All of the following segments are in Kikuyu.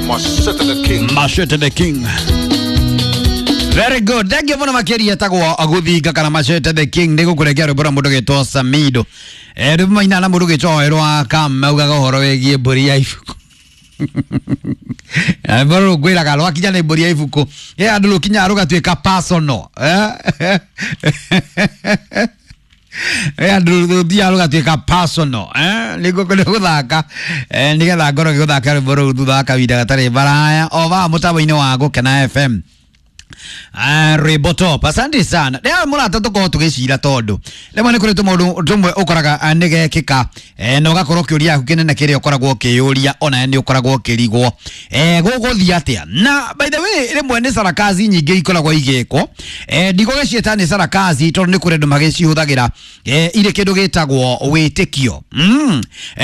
Machete the King. Machete the King. Very good. Thank you muno makiria tagwo guthinga kana Machete the King ni gukurekia rwimbo rwa mundu gitwo Samido. Rwimbo maina na mundu gitwo Werũ wa Kam augaga uhoro wigie mbũri ya ibuku. Rwimbo rũrũ ngwĩraga rwakinya nĩ mbũri ya ibuku. Andũ rũkinyaga rũgatuĩka personal. Andũ rũthiaga rũgatuĩka personal. Nĩguo gũthaka nĩgetha ngorwo ngĩgũthaka rwĩmbo rũu thutha wa kahinda gatarĩ baraya o vaa mũtambo-inĩ wa Gũkena FM. Rwĩmbo top. Asante sana. Rĩrĩa mũrata tũkorwo tũgĩcira tondũ rĩmwe nĩ kũrĩ tũmaũndũ tũmwe ũkoraga nĩ gekĩka na ũgakorwo kĩũria gĩaku kĩnene kĩrĩa ũkoragwo ũkĩyũria ona nĩ ũkoragwo ũkĩrigwo gũgũthiĩ atĩa. Na by the way rĩmwe nĩ sarakazi nyingĩ ikoragwo igĩkwo, ndigũgĩciĩta nĩ sarakazi tondũ nĩ kũrĩ andũ magĩcihũthagĩra irĩ kĩndũ gĩtagwo wĩtĩkio.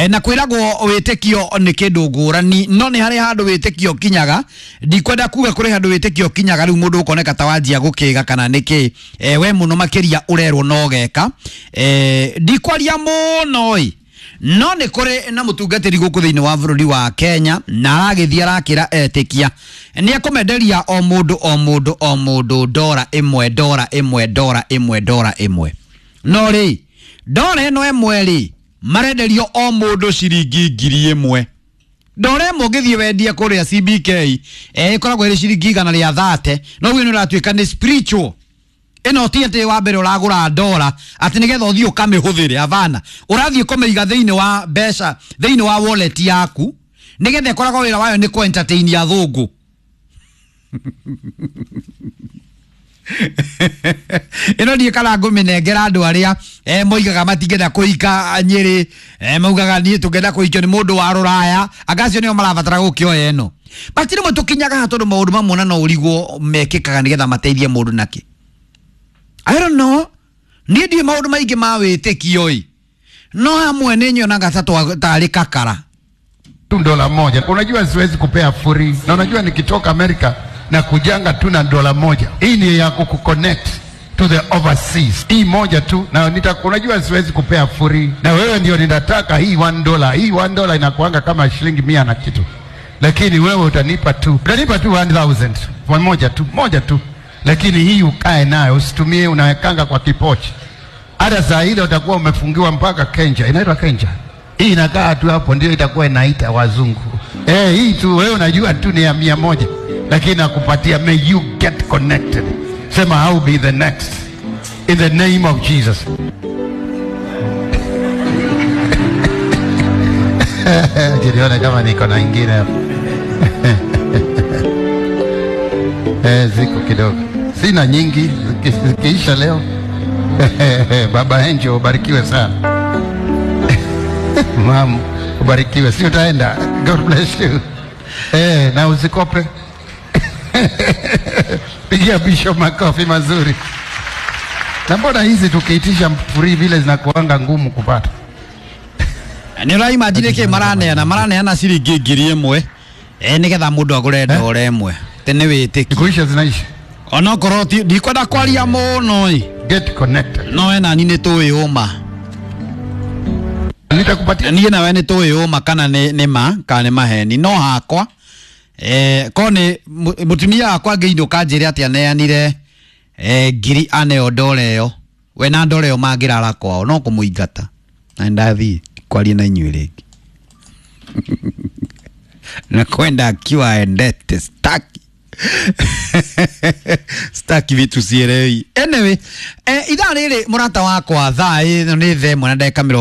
Na kwĩragwo wĩtĩkio nĩ kĩndũ ngũrani, no nĩ harĩ handũ wĩtĩkio ũkinyaga. Ndikwenda kuga kũrĩ handũ wĩtĩkio ũkinyaga rĩu mũndũ ũkoneka ta wanjia gũkĩga kana nĩkĩ, we mũno makĩria ũrerwo no geka. Ndikwaria mũno ĩ, no nĩ kũrĩ na mũtungatĩri gũkũ thĩinĩ wa bũrũri wa Kenya na aragĩthiĩ arakĩra etĩkia nĩ ekũmenderia o mũndũ o mũndũ o mũndũ ndora ĩmwe ndora ĩmwe ndora ĩmwe ndora ĩmwe. No rĩ, ndora ĩno ĩmwe rĩ, marenderio o mũndũ ciringi 1,000. Ndora ĩmwe ũngĩthiĩ wendie kũrĩa CBK ĩkoragwo ĩrĩ ciringi 130, no ũguo nĩ ũratuĩka nĩ spiritual. Ĩno ti atĩ wa mbere ũragũra ndora atĩ nĩgetha ũthiĩ ũkamĩhũthĩre, havana. Ũrathiĩ kũmĩiga thĩinĩ wa mbeca, thĩinĩ wa wallet yaku, nĩgetha ĩkoragwo wĩra wayo nĩ kũ entertain athũngũ. Ĩno ndiĩ kana ngũmĩnengera andũ arĩa moigaga matingĩenda kũhika Nyĩrĩ, maugaga niĩ tũngĩenda kũhikio nĩ mũndũ wa rũraya, anga acio nĩo marabatara gũkĩoya ĩno. But rĩmwe tũkinyaga haha tondũ maũndũ mamwe na no ũrigwo mekĩkaga nĩgetha mateithie mũndũ nakĩ. I don't know. Niĩ ndiũĩ maũndũ maingĩ ma wĩtĩkio ĩ, no hamwe nĩ nyonaga ta tarĩ kakara. Tu dola moja. Unajua siwezi kupea free. Na unajua nikitoka Amerika na kujanga tu na dola moja. Hii ni ya kukuconnect to the overseas. Hii moja tu na unajua siwezi kupea free. Na wewe ndio ninataka hii $1. Hii $1 inakuanga kama shilingi 100 na kitu. Lakini wewe utanipa tu. Utanipa tu 1000. Moja tu, moja tu. Lakini hii ukae nayo, usitumie, unawekanga kwa kipochi. Hata saa ile utakuwa umefungiwa mpaka Kenja. Inaitwa Kenja. Hii inakaa tu hapo ndio itakuwa inaita wazungu. Hii tu wewe unajua tu ni ya 100. Lakini nakupatia, may you get connected. Sema I'll be the next. In the name of Jesus. Jiliona kama niko na ingine hapo. Ziko kidogo. Sina nyingi, zikiisha leo. Baba Angel ubarikiwe sana. Mam, ubarikiwe. Si utaenda. God bless you. Na usikope. Pigia Bishop makofi mazuri. Na mbona hizi tukiitisha free vile zinakuanga ngumu kupata? Nĩ ũraimagine kĩ maraneana ciringi 1,000 nĩgetha mũndũ agũre ndora ĩmwe. Tĩ nĩ wĩtĩkio. Ikuisha zinaisha. Onokorwo ti ndikwenda kwaria mũno ĩ. Get connected. No ena ni nĩ tũĩ ũma. Nitakupatia. Niĩ nawe nĩ tũĩ ũma kana nĩ ma kana nĩ maheni. No hakwa ko nĩ mũtumia wakwa angĩinũka anjĩre atĩ aneanire ngiri aneo ndora ĩyo, we na ndora ĩyo mangĩrara kwao no kũmũingata. Na ndathiĩ kwaria na inyuĩ rĩngĩ. Na kwenda akiwa endete staki. Staki vitu sielewi. Anyway, ithaa rĩrĩ mũrata wakwa thaa ĩno nĩ 1:40.